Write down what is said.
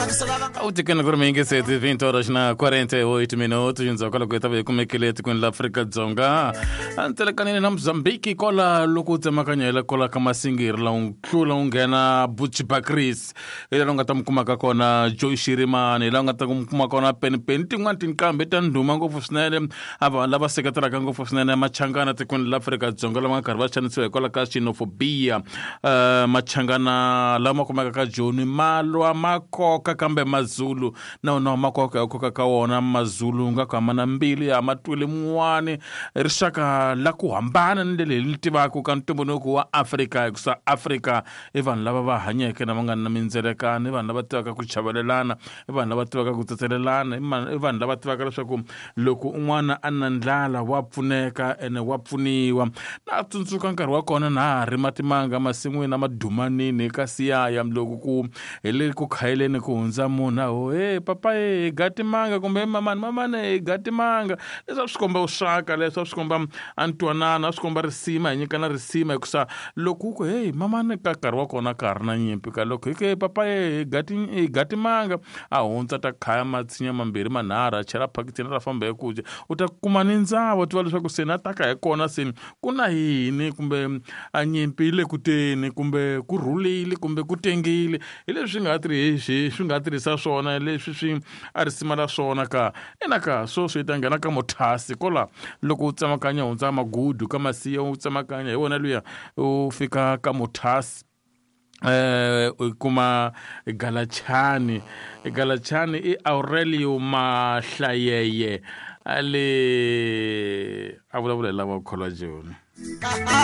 U tikweni ku ri miyingiseti 20 horas na 48 minutos endzhaku ka loko hi ta va hi kumekile etikweni la Afrika-Dzonga a ntelekanini na Mozambique kola loko u tsemakanya hi la kola ka Masingiri la u tlula u nghena Buchibakris hi laha u nga ta mi kumaka kona Joe Shirimani hi laha u nga ta mi kuma kona Penipeni tin'wani tinqambi ta ndhuma ngopfu swinene a vanhu lava seketelaka ngopfu swinene machangana tikweni la Afrika-Dzonga lama nga karhi va xanisiwa hikwalaho ka xenophobia. Machangana lama kumekaka ka Joni ma lwa ma koka kambe Mazulu na wona ma koka hi koka ka wona Mazulu nga ku hambana mbilu ya ma twele mun'wani rixaka la ku hambana ni leli hi li tivaka ka ntumbuluko wa Afrika hikusa Afrika i vanhu lava va hanyeke na va nga na mindzelekano i vanhu lava tivaka ku chavelelana i vanhu lava tivaka ku tsetselelana i vanhu lava tivaka leswaku loko un'wana a na ndlala wa pfuneka ene wa pfuniwa. Na tsundzuka nkarhi wa kona na ha rima timanga masin'wini a madumanini ka siyaya loko ku hi le ku khayeleni ku hundza munhu a ho he papa he hi ga timanga kumbe mamani mamani hi ga timanga. Leswi a swi komba vuxaka leswi a swi komba a ntwanano a swi komba risima hi nyikana risima hikusa loko u ku heyi mamani ka nkarhi wa kona ka ha ri na nyimpi ka loko hi ku hey papa he hi ga timanga a hundza ta khaya matshinya mambirhi manharhu a chela phakitini ra famba hi ku dya u ta kuma ni ndzavo u tiva leswaku se na taka hi kona se ku na yini kumbe a nyimpi yi le ku teni kumbe ku rhulile kumbe ku tengile. Hi leswi swi nga tirhisi swi nga tirhisa swona leswi swi a risima la swona ka ina ka sweswi hi ta nghena ka mothasi kola loko u tsemakanya hundza magudu ka masiya u tsemakanya hi wona luya u fika ka mothasi u kuma Galachani. Galachani i Aurelio Mahlayeye a le a vulavula hi lava kholwa joni.